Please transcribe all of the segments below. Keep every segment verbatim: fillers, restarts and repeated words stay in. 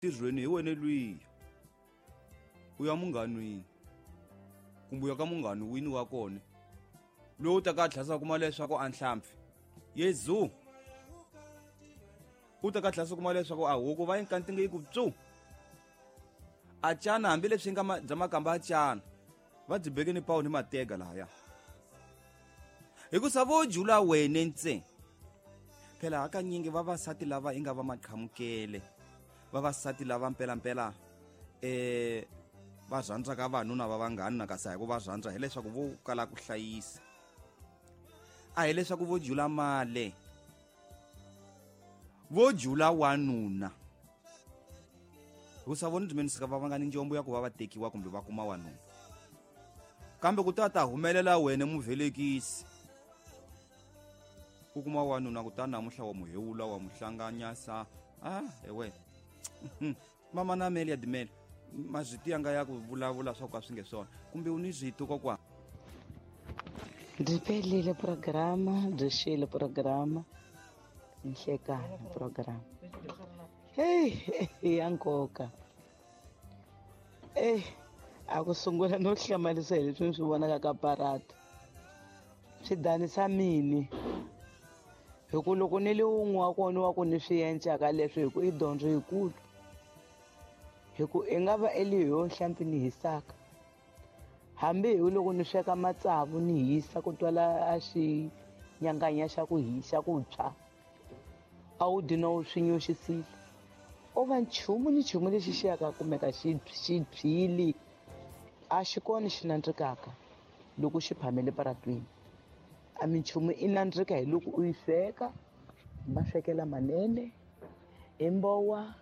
Ntirhweni hi wena lwiya u ya munghanwini kumbe u ya ka munghani wini wa kona lowu ta ka tlhasa kuma leswaku a nhlampfi yezu u ta ka tlhasa kuma leswaku a huku va inkantinge yi ku tsu a cana hambileswi nga bya makamba a cana va byi beke ni pawu ni matega lahaya hikusa vo jula wene ntsena. Phela hakanyingi vavasati lava i nga va maqhamukele vavasati lava mpelampela eh va rhandzaka vanuna va vanghani na kasi hi ku va rhandza hileswaku vo kala ku hlayisa a hileswaku vo jula mali vo jula wanuna hikusa vona byi menisika va va nga ni njombo ya ku va va tekiwa kumbe va kuma wanuna kambe ku ta ta humelela wena muvelekisi u kuma wanuna kutani namuntlha wa muhewula wa muhlanganyasa ah ewe mama na mele ya dimele mazviti yanga ya ku vulavula swa ku a swi nge swona kumbe u ni zwito kokwana. Byi pelile programa byi xile programa nhlekani programa hey ya nkoka eh a ku sungula no hlamarisa hi leswi ni swi vonaka ka parata swi danisa mini hi ku loko ni le wun'we wa kona wa ku ni swi encaka leswi hi ku i dyondzo yikulu hi ku i nga va eliyo nhlampfi ni hisaka hambi hi loko ni sweka matsavu ni hisa ku twala a xi nyanganya xa ku hisa ku tshwa a wu dyi no swi nyoxisile o va nchumu ni nchumu lexi xi yaka kumeka xi xi byili a xi kona xi nandzikaka loko xi phamele paratwini a minchumu i nandzika hi loko u yi sweka hi maswekela manene hi mbowa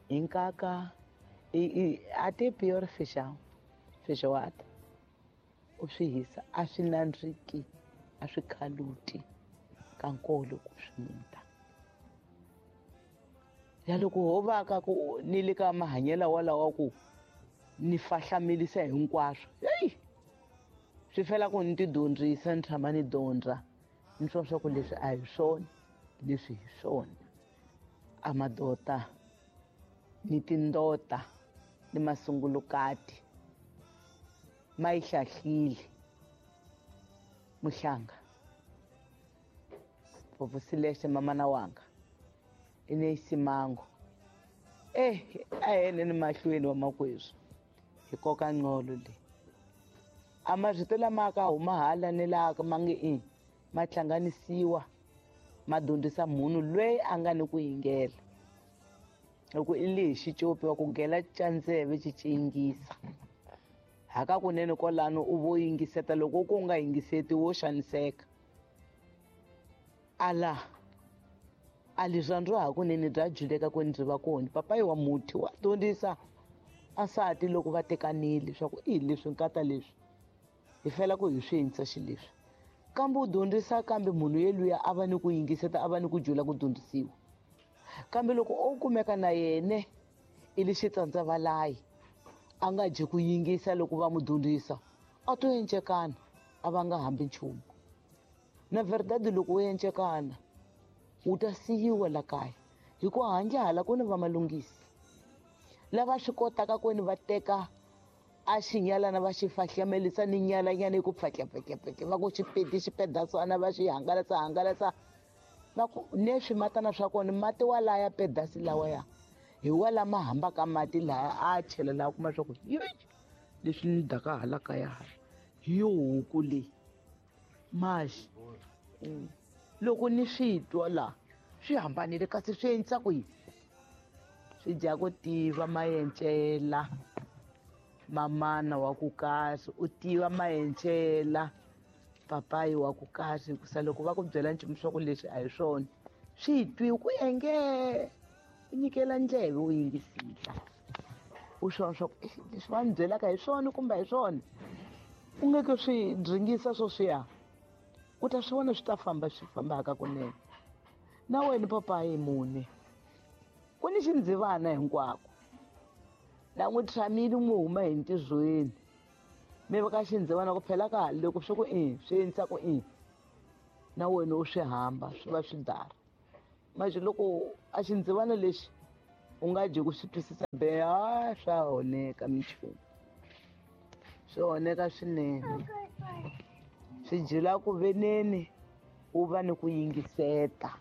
hi nkaka i a ti pure feijão feijoada u swi hisa a swi nandziki a swi khaluti ka nkolo ku swi muta ya loko ho va ka ku ni le ka mahanyelo walawa ku ni fahlamelisa hinkwaswo hey swi fela ku ni ti dyondzisa ni tshama ni dyondza ni swa swa ku leswi a hi swona leswi hi swona a madota ni tindota ni masungulukati ma yi hlahlile muhlanga vovosilexe mamana wanga i ne simango eh a yene ni mahlweni wa makweswi hi koka nqolo le a marito lama ka huma hala ni laha ma nge i ma hlanganisiwa ma dyondzisa munhu loyi a nga ni ku yingela loko i lexi copi wa ku gela candzeve xi cingisa haka kunene kwalano u vo yingiseta loko ku nga yingiseti wo xaniseka ala a leswi hakunene bya juleka ku ndzi va kona papayi wa muti wa dyondzisa asati loko va tekanile leswaku i leswi nkata leswi hi fela ku hi swi endlisa xileswi kambe u dyondzisa kambe munhu yeluya a va ni ku yingiseta a va ni ku jula ku dyondzisiwa kambe loko o kumeka na yene i le xitsandzavalayi a nga dyi ku yingisa loko va mu dyondzisa a to encekana a va nga hambi nchumu na verdade loko wo encekana wu ta siyiwa la kaya hi ku handle hala ku ni va malunghisi lava swi kotaka ku ni va teka a xinyalana va xi fahlamelisa ni nyalanyana yi ku pfatlapfatlapfatla va ku xipedi xipedasana va xi hangalasa hangalasa va ku ne swimatana swa kona mati walaya pedasi lawaya hi wala ma hambaka mati laya a chela laha kuma swa ku leswi ni daka hala kaya hala hi yo huku leyi maxi loko ni swi twa la swi hambanile kasi swi endlisa ku yini swi dya ku tiva maencela mamana wa ku kahle u tiva maencela papayi wa ku kahle hikusa loko va ku byela nchumu swa ku leswi a hi swona swi twi ku enge u nyikela ndleve u yingisisa u swona swa ku leswi va ni byelaka hi swona kumbe hi swona u nge ke swi dringisa swoswiya u ta swi vona swi ta famba swi fambaka kunene na wena papayi mune ku ni xindzivana hinkwako na n'wi tshamile n'wi huma hi ntirhweni mi va ka xindzivana ku phela ka loko swi ku i swi endlisa ku i na wena u swi hamba swi va swi dara manje loko a xindzivana lexi U nga dyi ku swi twisisa be a swa oneka minchumu, swi oneka swinene. Swi jula ku veneni u va ni ku yingiseta.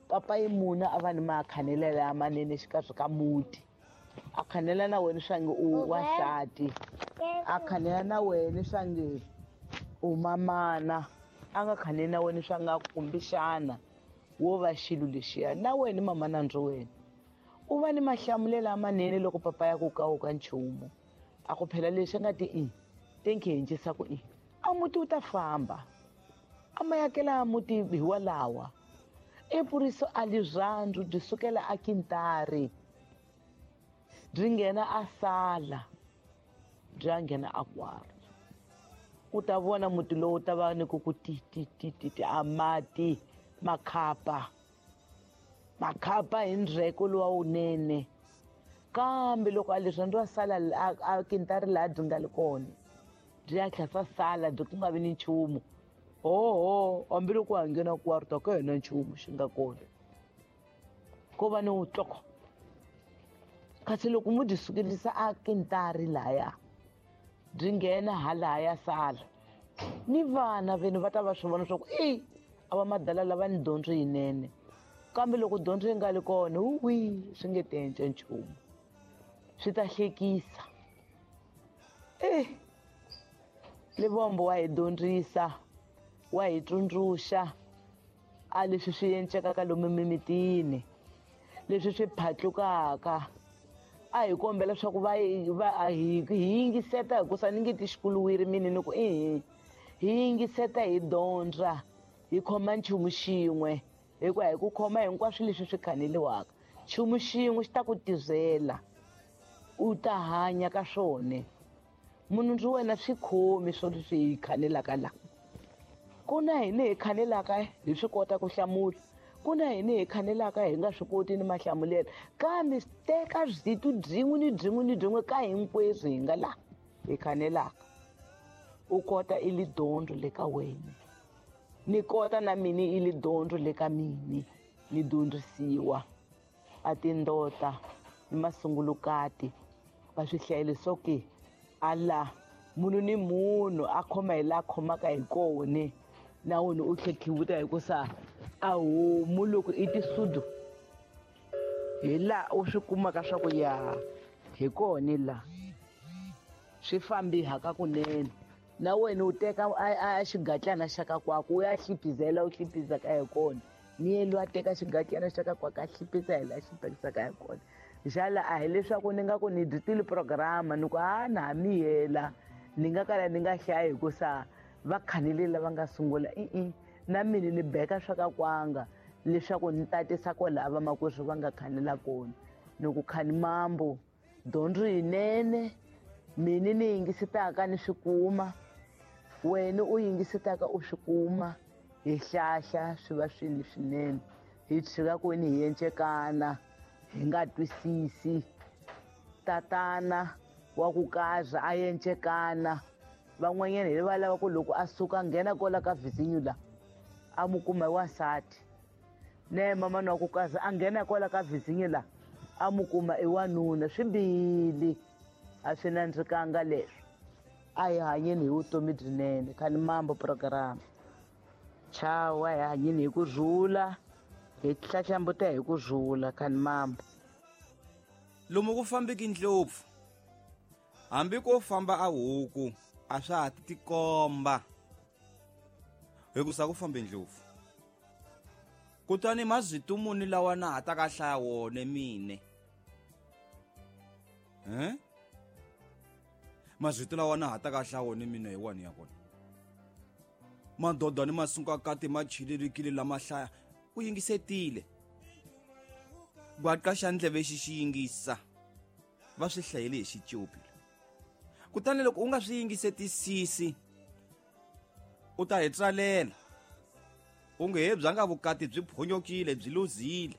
Papa yi muna a va ni makhanelelo lamanene xikarhi ka muti, a khanela na wena swange u wansati, a khanela na wena swange u mamana, a nga khaneli na wena swa nga kumbexana wo va xilo lexiya na wena mama nandzu wena. U va ni mahlamulelo lamanene loko papa ya ku kawuka nchumu, a ku phela lexi nga ti i tenkhencisa ku i a muti wu ta famba, a mayakela muti hi walawa. Epuriso a lirhandzu byi sukela a kintari byi nghena a sala byi ya nghena a kwari. U ta vona muti lowu ta va ni ku ku ti ti ti ti ti a mati makhapa makhapa hi ndzheko luwa wunene. Kambe loko a lirhandzu a sala a kintari laha byi nga li kona byi ya tlhela sala byi ku nga vi ni nchumu. Oho, hambiloko a nghena kwarta ka hina nchumu xi nga kona, ko va ni wutloko. Kasi loko mu byi sukelisa a kintari laya byi nghena halaya sala, ni vana veni va ta va swi vona swa ku i a va madala lava ni dyondzo yinene. Kambe loko dyondzo yi nga li kona, wi swi nge tenca nchumu, swi ta hlekisa. Eh, Lebombo wa hi dyondzisa, wa hi tsundzuxa a leswi swi encekaka lomu mimitini, leswi swi phatlukaka. A hi kombela leswaku va va hi yingiseta, hikusa ni nge ti xikuluwiri mini ni ku i hi yingiseta, hi dyondza, hi khoma nchumu xin'we, hikuva hi ku khoma hinkwaswo leswi swi khaneliwaka, nchumu xin'we xi ta ku tirhela, u ta hanya ka swona. Munhu ndzi wena swi khomi swo leswi hi khanelaka la. Ku na hina hi khanelaka hi swi kota ku hlamula, ku na hina hi khanelaka hi nga swi koti ni mahlamulelo, kambe teka byitu byin'we ni byin'we ni byin'we ka hinkwerhu hi nga la hi khanelaka, u kota i li dyondzo le ka wena, ni kota na mina i li dyondzo le ka mini, ni dyondzisiwa. A tindota ni masungulukati va swi hlayele swo ke ala munhu ni munhu a khoma hi laha khomaka hi kona, na wena u tlhekhiwuta hikusa a homu loko i tisudu hi laha u swi kumaka swa ku ya hi kona la swi fambi haka kunene. Na wena u teka a xigatlana xa ka kwako u ya hlipizela u hlipizaka hi kona, ni yena loyi a teka xigatlana xa ka kwako a hlipiza hi laha hlipizaka hi kona. Xala a hi leswaku ni nga ku ni dyitile programa ni ku a na ha miyela ni nga kala ni nga hlayi hikusa va khanele lava nga sungula i-i na mina ni beka swa ka kwanga leswaku ni tatisa kwalaha vamakwerhu va nga khanela kona. Ni ku khani mambo dyondzo yinene mina ni yingisetaka ni swi kuma, wena u yingisetaka u swi kuma, hi hlahla swi va swilo swinene, hi tshika ku ni hi encekana hi nga twisisi. Tatana wa ku kaza a encekana, van'wanyana hi va lava ku loko a suka nghena kwala ka vhizinyu la a mu kuma hi wansati, ne mamana wa ku kaza a nghena kwala ka vhizinyu la a mu kuma i wanuna. Swi bihile, a swi nandzikanga leswo. A hi hanyeni hi vutomi byinene. Khani mambo program chawa, hi hanyeni hi ku rhula, hi hlahlambuta hi ku rhula. Khani mambo lomu ku fambeki ndlopfu, hambi ko famba a huku a swa ha ti tikomba hikusa ku fambe ndlopfu. Kutani mazito muni lawa na ha ta ka hlaya wona mine, eh mazito lawa na ha ta ka hlaya wona mine hi wani ya kona. Madoda ni masunkakati ma chilelekile lama hlaya u yingisetile, gwaqa xa ndleve xi xi yingisa, va swi hlayele hi xicopi. Kutani loko u nga swi yingisetisisi u ta hi tsalela u nge he bya nga vukati byi phonyokile byi luzile,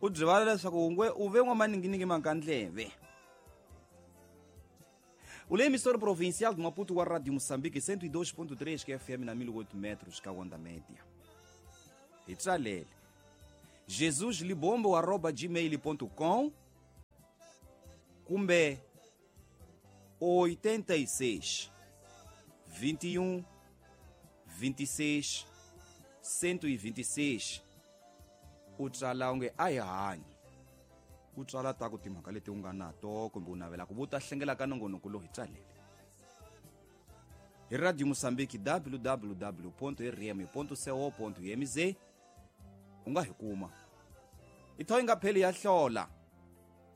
u byi vala leswaku ungwe u ve n'wamaninginingi makandleve. O emissora provincial de Maputo wa Rádio Moçambique cento e dois ponto três que F M na mil e oito metros ka onda média. Hi tsalele jesus libombo arroba gmail ponto com kumbe oitenta e seis, vinte e um, vinte e seis, cento e vinte e seis. U tsala onge a hi hanyi, u tsala ta ku timhaka leti u nga na to kumbe u navela ku vuta hlengela ka nongonoko lowu hi tsalele hi Radio Mozambique w w w ponto r m ponto co ponto m z. U nga hi kuma i tho yi nga pheli ya hlola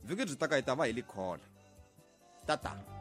vhiki byi ta ka hi ta va hi likhola tata.